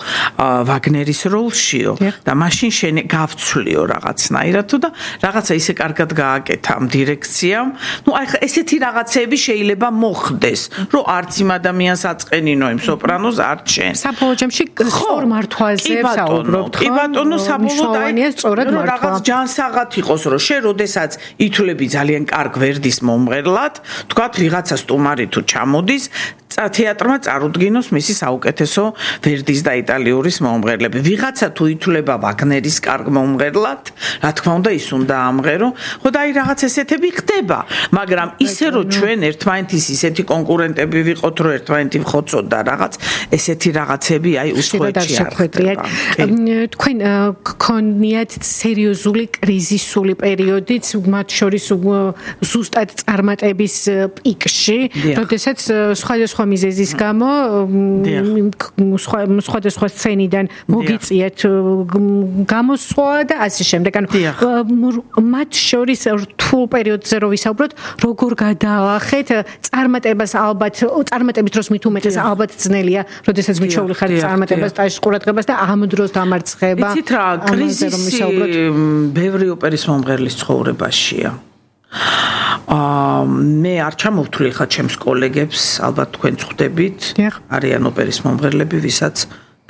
ვაგნერის როლშიო და მაშინ შენ გავცვლიო რაღაცნაირად და რაღაცა ისე კარგად გააკეთა ამ დირექციამ ნუ აი ესეთი რაღაცები შეიძლება მოხდეს რომ არც იმ ადამიანს აწყენინო იმ სოპრანოს არც შენ საბოლოო ჯამში სწორ მართვაზე საუბრობთ ხო კი ბატონო საბოლოოდ აი სწორად მართვა რაღაც ჯანსაღად იყოს რომ შენ როდესაც ითვლები ძალიან კარგ ვერდის მომღერლად თქვათ ვიღაცა სტუმარი თუ ჩამოდის თეატრმა წარუდგინოს მისი საუკეთესო ვერდის და იტალიური მომღერლები ვიღაცა თუ ითვლება ვაგნერის კარგ მომღერლად რა თქმა უნდა ის უნდა ამღერო ხო და აი რაღაც ესეთები ხდება მაგრამ ისე რომ ჩვენ ერთმანეთის ისეთი კონკურენტები ვიყოთ რომ ერთმანეთი ვხოცოთ და რაღაც ესეთი რაღაცები აი უსხვეთში არ ხდება თქვენ გქონიათ სერიოზული კრიზისული პერიოდიც მათ შორის ზუსტად წარმატების პიკში როდესაც სხვადასხვა მიზეზის გამო სხვადასხვა სცენიდან მოგიწიეთ გამოსვლა და ასე შემდეგ. ანუ მათ შორის რთულ პერიოდზე რო ვისაუბროთ, როგორ გადაალახეთ წარმატებას ალბათ წარმატების დროს მით უმეტეს ალბათ ძნელია, როდესაც მიჩვეული ხარ წარმატებას ტაჟის ყურადღებას და ამ დროს დამარცხება. იცით რა, კრიზისი ბევრი ოპერის მომღერლის ცხოვრებაშია. მე არ ჩამოვთვლი ხა ჩემს კოლეგებს, ალბათ თქვენ ხვდებით, არიან ოპერის მომღერლები, ვისაც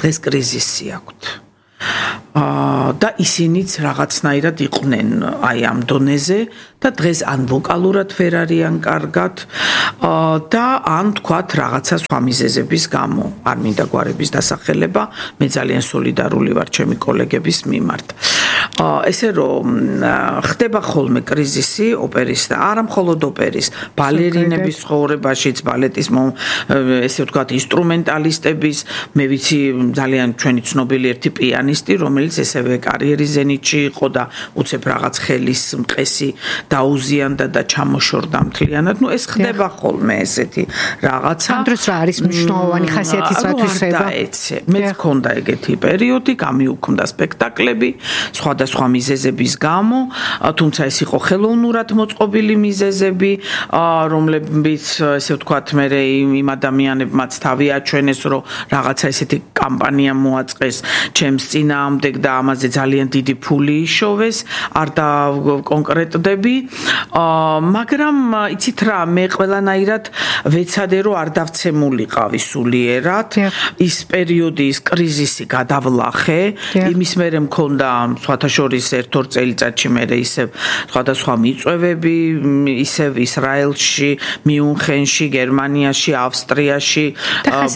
დღეს კრიზისი აქვთ. და ისინიც რაღაცნაირად იყვნენ აი ამ დონეზე და დღეს ან ვოკალურად ვერ არიან კარგად და ან თქვათ რაღაცა სხვა მიზეზების გამო არ მინდა გვარების დასახელება მე ძალიან სოლიდარული ვარ ჩემი კოლეგების მიმართ ესე რომ ხდება ხოლმე კრიზისი ოპერის და არა მხოლოდ ოპერის, ბალერინების ცხოვრებაშიც, ბალეტის ესე ვთქვათ, ინსტრუმენტალისტების, მე ვიცი ძალიან ჩვენი ცნობილი ერთი პიანისტი, რომელიც ესევე კარიერის ზენიტში იყო და უცებ რაღაც ხელის მყესი დაუზიანდა და ჩამოშორდა მთლიანად. ნუ ეს ხდება ხოლმე ესეთი რაღაცა. ამ დროს რა არის მნიშვნელოვანი ხასიათის რათვისება? მე მქონდა ეგეთი პერიოდი, გამიუქმდა სპექტაკლები სხვადასხვა მიზეზების გამო, თუმცა ეს იყო ხელოვნურად მოწყობილი მიზეზები, რომლებიც ესე ვთქვათ, მე იმ ადამიანებმაც თავი აჩვენეს, რომ რაღაცა ესეთი კამპანია მოაწყეს ჩემს წინააღმდეგ და ამაზე ძალიან დიდი ფული იშოვეს, არ დავკონკრეტდები, მაგრამ იცით რა, მე ყველანაირად ვეცადე, რომ არ დავცემულიყავი სულიერად, ის პერიოდი, ის კრიზისი გადავლახე, იმის მერე მქონდა სხვათა შორის ერთ-ორ წელიწადში მე ისევ სხვადასხვა მიწვევები, ისევ ისრაელში, მიუნხენში, გერმანიაში, ავსტრიაში,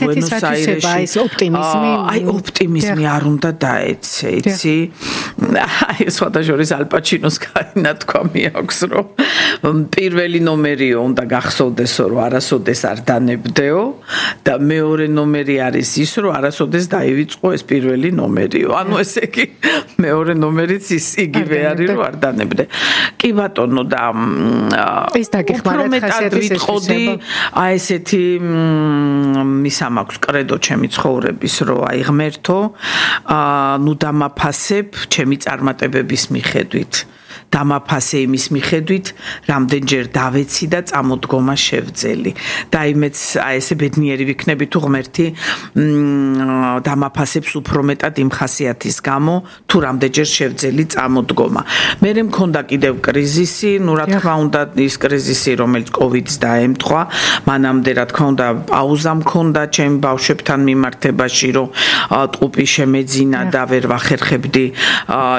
ბუენოს აირეში. აი ოპტიმიზმი არ უნდა დაეცე, იცი? აი სხვათა შორის ალ პაჩინოს განათქვამი აქვს, რომ პირველი ნომერიო უნდა გახსოვდესო, რომ არასოდეს არ დანებდეო და მეორე ნომერი არის ის, რომ არასოდეს დაივიწყო ეს პირველი ნომერიო. ანუ ესე იგი მეორე ნომერიც ის იგივე არის, რომ არ დანებდე. კი ბატონო და ეს დაგეხმარათ ხასიათის ვიტყოდი, აი ესეთი მისამ აქვს კრედო ჩემი ცხოვრების, რომ აი ღმერთო, ნუ დამაფასებ ჩემი წარმატებების მიხედვით. დამაფასე იმის მიხედვით, რამდენჯერ დავეცი და წამოდგომა შევძელი. და იმეც აი ესე ბედნიერი ვიქნები თუ ღმერთი დამაფასებს უფრო მეტად იმ ხასიათის გამო, თუ რამდენჯერ შევძელი წამოდგომა. მე მქონდა კიდევ კრიზისი, ნუ რა თქმა უნდა ის კრიზისი, რომელიც COVID-ს დაემთხვა, მანამდე რა თქმა უნდა პაუზა მქონდა ჩემ ბავშვებთან მიმართებაში, რომ ტყუპი შემეძინა და ვერ ვახერხებდი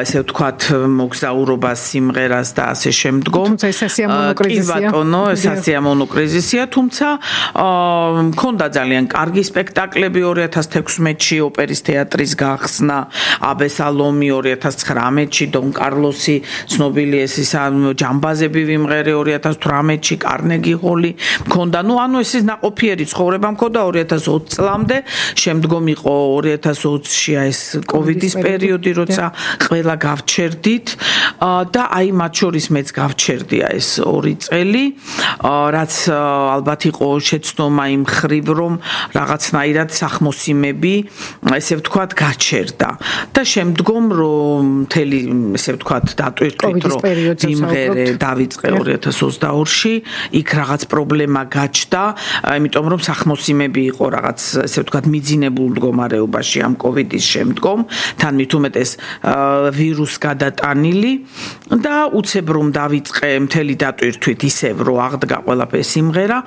ესე ვთქვათ მოგზაურობას სიმღერას და ასე შემდგომ. თუმცა ეს სასიამოვნო კრიზისია. კი ბატონო, ეს სასიამოვნო კრიზისია, თუმცა მქონდა ძალიან კარგი სპექტაკლები 2016-ში ოპერის თეატრის გახსნა, აბესალომი 2019-ში, დონ კარლოსი, ცნობილი ეს ჯამბაზები ვიმღერე 2018-ში, კარნეგი ჰოლი მქონდა. ნუ ანუ ეს ნაყოფიერი ცხოვრება მქონდა 2020 წლამდე, შემდგომ იყო 2020-ში ეს COVID-ის პერიოდი, როცა ყველა გავჩერდით და აი მათ შორის მეც გავჩერდია ეს 2 წელი, რაც ალბათ იყო შეცდომა იმ ხრივ, რომ რაღაცნაირად სახმოსიმები, ესე ვთქვათ, გაჩერდა. და შემდგომ რომ მთელი ესე ვთქვათ, დატვირთვით, რომ ვიმღერე დავიწყე 2022-ში, იქ რაღაც პრობლემა გაჩნდა, იმიტომ რომ სახმოსიმები იყო რაღაც ესე ვთქვათ, მიძინებულ მდგომარეობაში ამ COVID-ის შემდგომ, თან მით უმეტეს ვირუს გადატანილი და უცებ რომ დავიწყე მთელი დატვირთვით ისევ რომ აღდგა ყველაფერი სიმღერა,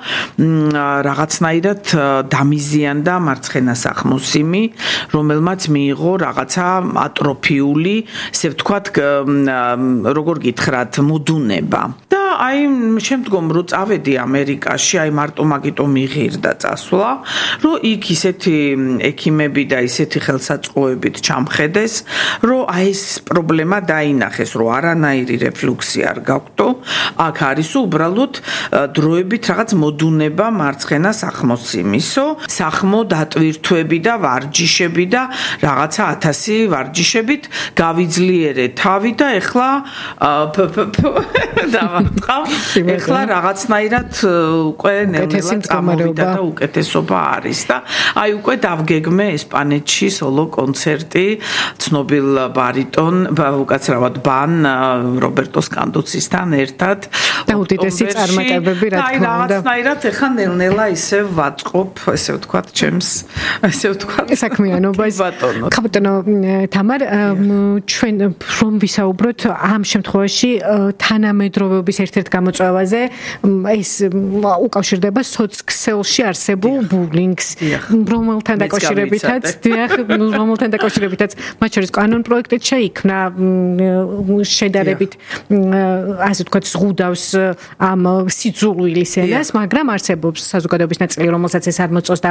რაღაცნაირად დამიზიანდა მარცხენა სახმოსიმი, რომელმაც მიიღო რაღაცა ატროფიული, ესე ვთქვათ, როგორ გითხრათ, მოდუნება. და აი შემდგომ რო წავედი ამერიკაში, აი მარტო მაგიტომ მიღირდა წასვლა, რომ იქ ისეთი ექიმები და ისეთი ხელსაწყოებით ჩამხედეს, რომ აი ეს პრობლემა დაინახეს, რომ არანაირი რეფლუქსი არ გაქვთ, აქ არის უბრალოდ დროებით რაღაც მოდუნება მარცხენა სახმოსიმისო, სახმო დატვირთვები და ვარჯიშები და რაღაცა 1000 ვარჯიშებით გავიძლიერე თავი და ეხლა დავარტყავ, ეხლა რაღაცნაირად უკვე ნელ-ნელა წამოვიდა და უკეთესობა არის და აი უკვე დავგეგმე ესპანეთში სოლო კონცერტი ცნობილ ბარიტონ უკაცრავად ბან რობერტო სკანდუცისთან ერთად და უდიდესი წარმატებები რა თქმა უნდა. აი რაღაცნაირად ეხლა ნელ-ნელა ისე ვაწყობ, ესე ვთქვათ, ჩემს ესე ვთქვათ საქმიანობას. ხაბატონო თამარ, ჩვენ რომ ვისაუბროთ ამ შემთხვევაში თანამედროვეობის ერთ-ერთ გამოწვევაზე, ეს უკავშირდება სოცქსელში არსებულ ბულინგს, რომელთან დაკავშირებითაც მათ შორის კანონ-პროექტით შეიქმნა შედარებით ასე ვთქვათ ზღუდავს ამ სიძულვილის ენას, მაგრამ არსებობს საზოგადოების ნაწილი, რომელსაც ეს არ მოწონს და